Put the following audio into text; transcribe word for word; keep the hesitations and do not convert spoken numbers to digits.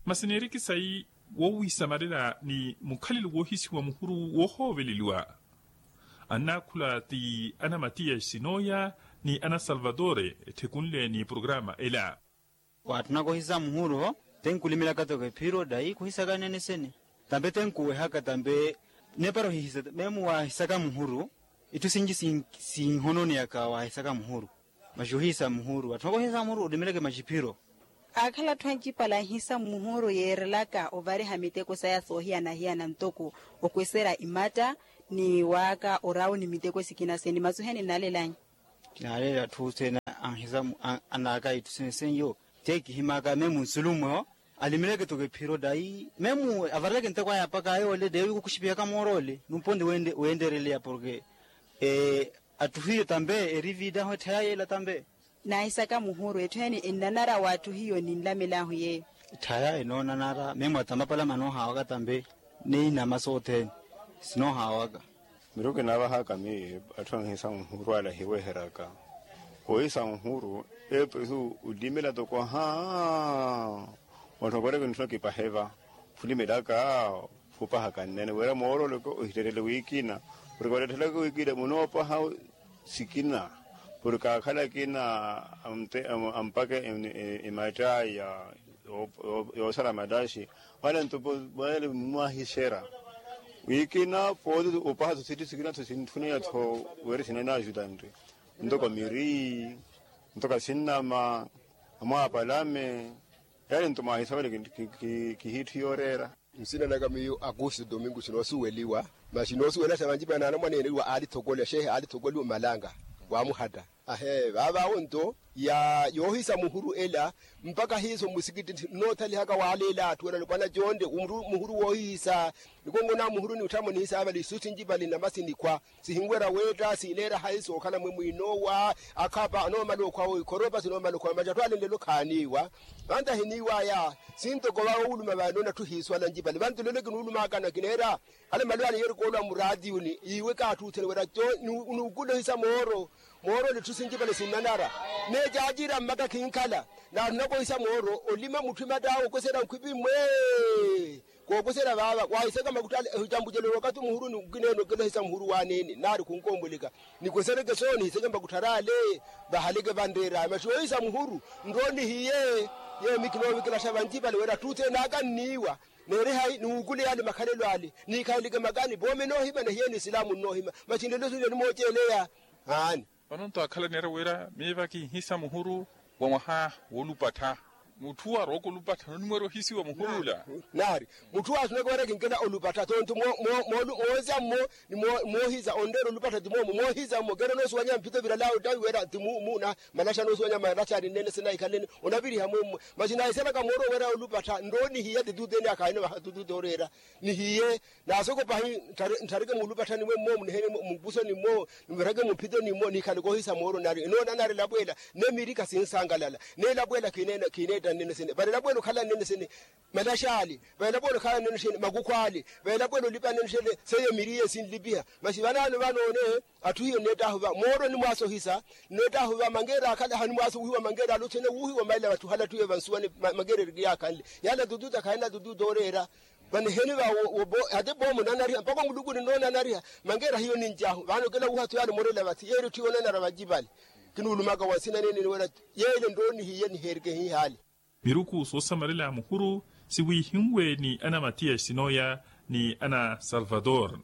Masi neeriki sayi wowiisamalela ni mukhalelo woohisiwa muhuru woohooveleliwa. Annaakhula ti ana matiyasi nooya ni ana salvatore etthekunle ni programa ela. Waatthunaka ohisa muhuru-vo, te nkulimelaka toko ephiro dayi khuhisaka nene sene. Tampe te nkuwehaka tampe nepara ohihisa memu waahisaka muhuru. Itthu sinci sinhononeyaka waahisaka muhuru. Masi ohisa muhuru waatthunaka ohisa muhuru olimeleke masi ephiro. Aakhala atthu ancipale anhisa muhuru yeerelaka ovariha miteko saya soohiyana-hiyana ntoko okweserya imatta ni waaka orawu ni miteko sikina sene masi ohiya ninnalelanya. Kinaaleela atthu sene anhisa anaaka itthu sene seiyo. Te kihimaka memu nsulumweho. Alimeleke toko ephiro dayi memu avareleke nteko aya mpakha yoole dayi wi khukhusipihaka moor'ole numpo nti weendereleya porke atthu hiyo tampe eri viidahu etthaya yeela tampe. Naahisaka muhuru etthu ene ennanara w'atthu hiyo ninlamelahu yeeyo. Etthaya enoonanara memu atamapalama noohaawaka tampe. Niinama sothene sinoohaawaka. Miruku kinaavahaka miyo atthu anhisa muhuru ale ahiweheryaka. Ohisa muhuru epesu olimela toko haa. Wanthu akoreke ntthu nakipaheva khulimelaka khupahaka nnene wira mooroleke ohitterele wikina. Porke walettelaka wikina munoopaha sikina porke akhala akina ampake emattayi yoosala mattaxi. Wale nto wale mwahiserya wikina pooti opaha tho sitthu sikina tho sintthuneya tho wira sinanaajutanre ntoko miri ntoko asinnama amwaapalame. Yaari nto mwaahisa wale kihiitthu yooreera. Nsina naka miyo augusto domingo sinoosuweliwa. Masi noosuwela sa vanci vana anamwaneene wa aalithokola xehe aalithokola omalanga waamuhatta. Ahee vaavawo nto ya yoohisa muhuru ela mpakha hiiso mmusikitthi nnoothalihaka waaleela atthu ela alupwana conte muhuru woohihisa. Nikongo na muhuru ni otthamo nihisaavali isu sinci vali namasi nikhwa sihinwerya weetta siileera hayi sookhala mwe mwiinoowa. Akhapa anoomala okhwa oikhoropa sinoomala okhwa macattho ale nlelo khaaniiwa. Vantu ahiniiwaya sintoko vawuluma vanoona atthu hiiswala ncipale vantu lelo kinuulumaka nakineera. Hale malwani yeerikoolwa muraatiyuni iwe kaatthuuthene wira co nuukulohisa mooro. Mooro ni tthu sincipale sinnanara. Neecaacira mmaka khinkhala naathu nakohisa mooro olima mutthu imattaawe okweserya nkhwipi mwe. Kookuserya vaava waahisaka makutthaale ehicambucelo wakathi muhuru ni nkineene okilohisa muhuru waaneene naari khunkombweleka. Nikwesereke soono nihiseke makutthar'ale vahaleke vanreer'aya masi yoohisa muhuru. Nroonihiye yeemi kinoovikilaxa vanci vale wira atthu othene aka nniiwa. Neeri hayi niwukuleya ale makhalelo ale niikhaleleke makani voome noohima nahiyeni isilaamu nnoohima. Masi nlelo sule nimooceleya. Aani. Vano nto akhala neera wira miiva kinhisa muhuru wa mwaha woolupattha. Mutthu arooko olupattha nonimweerya ohisiwa muhuru ula. Naari mutthu waasunaka wira kinkela olupattha tonto moohisa mmo. Ni moohisa onreera olupattha ti moomo moohisa mmo keera onoosuwanya mphito viralaawe ottavi wira ti muuna. Malaxa noosuwanya malaxa ari nnene sinaikhaleni onaviriha mwemmo. Masi naahisalaka mooro wira olupattha nroonihiya tituuteni akhaahina vaha tituuti oreera. Nihiye naasokopahi nthareke muulupatthani mwe mmo muniheni mupusoni mmo. Nivireke mumphitoni mmo niikhale koohisa mooro nari enoona nari elapweela. Nemirika sinsankalala neelapweela khineetta nnene sene vale elapweela okhala nnene sene. Malaxaali vale elapweela okhala nnene sene makukhwaali vale elapweela olipa nnene sene. Seiyo emiriye sinlipiha masi vanaano vanoone. Atthu hiyo nneettahuva mooro nimwaasohisa. Nneettahuva mangeera akhala hanimwaasohiwa mangeera aluthene wuuhiwa maila vatthu hale atthu hiyo vansuwani. Mangeera erikiyakhanle yaala tututa khaina tututa oreera. Vaniheni va hati boomo onanariha mpakha omuluku ninnoonanariha. Mangeera hiyo ninci ahu vano kila wuhathu yaani omorela vathi yeeri otthiwa onanara vanci vale. Kinuulumaka wa nsina neene niwela yeele nroonihiye niheerike hihaale. Miruku soosamarela muhuru siwiihinwe ni ana matiyasi nooya ni ana salvator.